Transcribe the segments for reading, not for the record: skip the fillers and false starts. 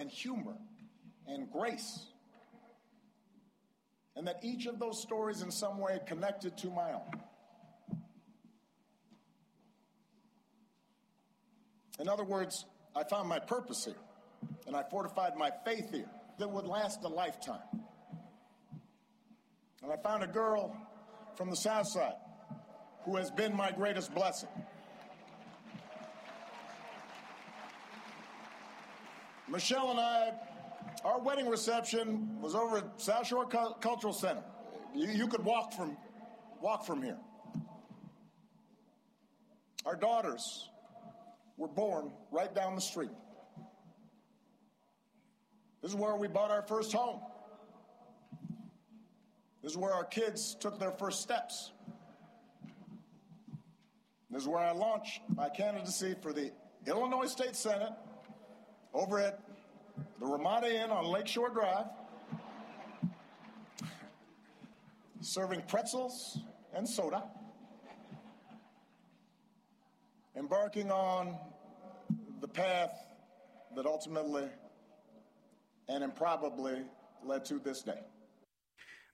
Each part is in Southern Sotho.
and humor and grace. And that each of those stories in some way connected to my own. In other words, I found my purpose here, and I fortified my faith here that would last a lifetime. And I found a girl from the South Side who has been my greatest blessing. Michelle and I, our wedding reception was over at South Shore Cultural Center. You could walk from here. Our daughters were born right down the street. This is where we bought our first home. This is where our kids took their first steps. This is where I launched my candidacy for the Illinois State Senate over at the Ramada Inn on Lakeshore Drive, serving pretzels and soda, embarking on the path that ultimately and improbably led to this day.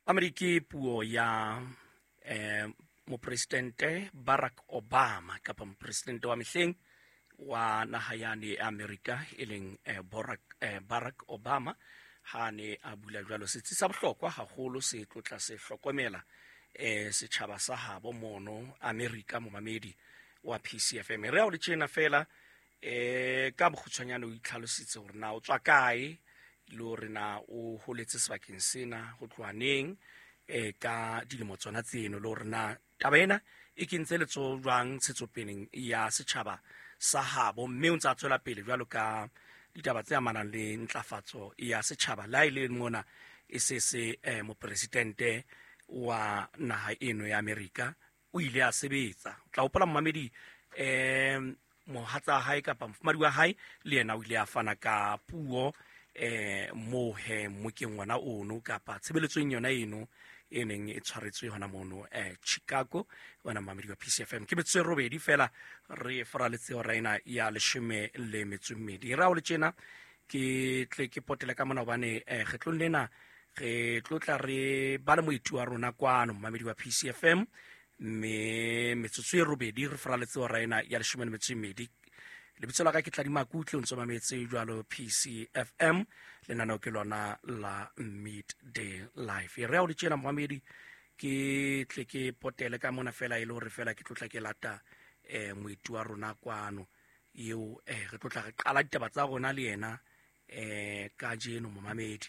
Mamedi, ke puo ya mopresidente Barack Obama kapa mopresidente wa mehleng wa naha yane ya Amerika, e leng Barack Obama, ha ne a bula jwalo setsi sa bohlokwa haholo se tlotla se hlokomela setjhaba sa habo mono Amerika. Momamedi wa PCFM, re a o le tjena fela ka bokgutshwanyane o itlhalositse hore na o tswa kae le hore na o holetse sebakeng sena ho tloha neng ka dilemo tsona tseno, le hore na taba ena e kentse letsoho jwang ntshetsopeleng ya setjhaba sa habo, mme o ntse a tswela pele jwalo ka ditaba tse amanang le ntlafatso ya setjhaba. Le ha e le mona e se se mopresidente wa naha eno ya Amerika o ile a sebetsa. O tla hopola momamedi, mohatsa hae kapa mofumahadi wa hae le yena o ile a fana ka puo mo he mokeng wona ono kapa tshebeletsong yona eno e neng e tshwaretswe hona mono Chicago. Wena momamedi wa PCFM, ke metsotso e robedi fela re foraletse hora ena ya 12. Re a o le tjena ke tle ke potele ka mona hobane kgetlong lena re tlotla re ba le moeti wa rona kwano momamedi wa PCFM, mme metsotso e robedi re foraletse hora ena ya 12. Lebitso la ka ke Tladi Makutle, o ntso mametse jwalo PCFM, lenaneo ke lona la Midday Life. Re a o le tjena momamedi, ke tle ke potele ka mona fela e le hore fela ke tlotla ke lata moeti wa rona kwano eo re tlotla re qala ditaba tsa rona le yena kajeno momamedi.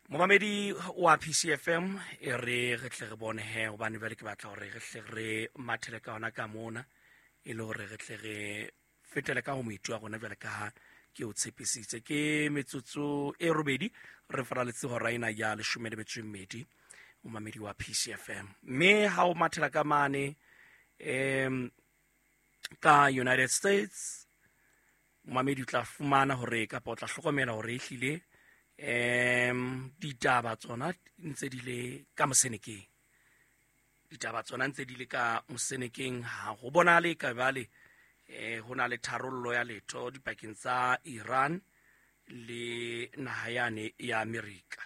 Momamedi wa PCFM, e re re tle re bone he, hobane jwale ke batla hore re hle re mathele ka hona ka mona e le hore re tle re fetele ka ho moeti wa rona jwale ka ha ke o tshepisitse. Ke metsotso e robedi re faraletse hora ena ya 12 momamedi wa PCFM. Mme ha o mathela ka mane ka United States, momamedi o tla fumana hore kapa o tla hlokomela hore ehlile ditaba tsona ntse di le ka mosenekeng. Ditaba tsona ntse di le ka mosenekeng, ha ho bonahale ka jwale ho na le tharollo ya letho dipakeng tsa Iran le naha yane ya Amerika.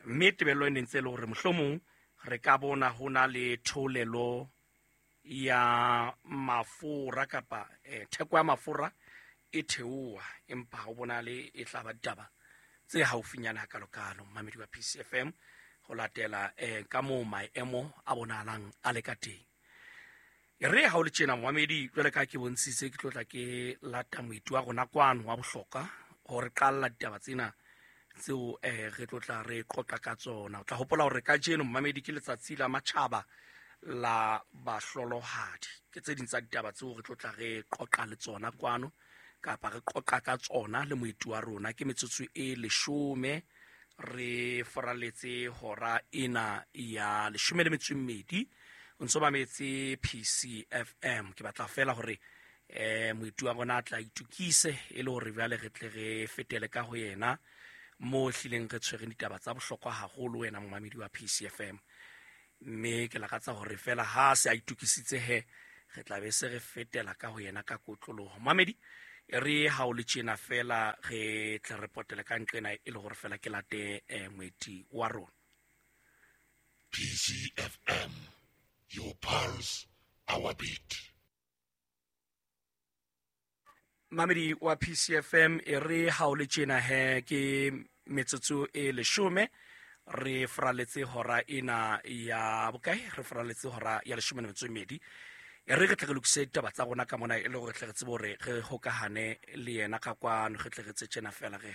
Mme tebello e ne ntse e le hore mohlomong re ka bona ho na le theolelo ya mafura kapa theko ya mafura e theoha, empa ha ho bonahale e tla ba ditaba tse haufinyana hakalokalo momamedi wa PCFM, ho latela ka moo maemo a bonahalang a le ka teng. E re ha o le tjena momamedi, jwale ka ke bontshitse, ke tlotla ke lata moeti wa rona kwano wa bohlokwa hore qalla ditaba tsena tseo re tlotla re qoqa ka tsona. O tla hopola hore kajeno momamedi ke letsatsi la matjhaba la bahlolohadi. Ke tse ding tsa ditaba tseo re tlotla re qoqa le tsona kwano kapa re qoqa ka tsona le moeti wa rona. Ke metsotso e 10 re foraletse hora ena ya 12. O ntso mametse PCFM. Ke batla fela hore moeti wa rona a tla itukise e le hore jwale re tle re fetele ka ho yena mo hlileng re tshwereng ditaba tsa bohlokwa haholo wena momamedi wa PCFM. Mme ke lakatsa hore fela ha se a itukisitse he, re tla be se re fetela ka ho yena ka kotloloho. Momamedi, E re ha o le tjena fela re tle re potele ka nqena e le gore fela ke late moeti wa rona. PCFM, your pulse, our beat. Mamedi wa PCFM, e re ha o le tjena he ke metsotso e 10 re fraletse hora ena ya bokae, re fraletse hora ya 12. E re re tle re lokise ditaba tsa rona ka mona e le gore tle re tsebe hore re hokahane le yena ka kwano, re tle re tse tjena fela re.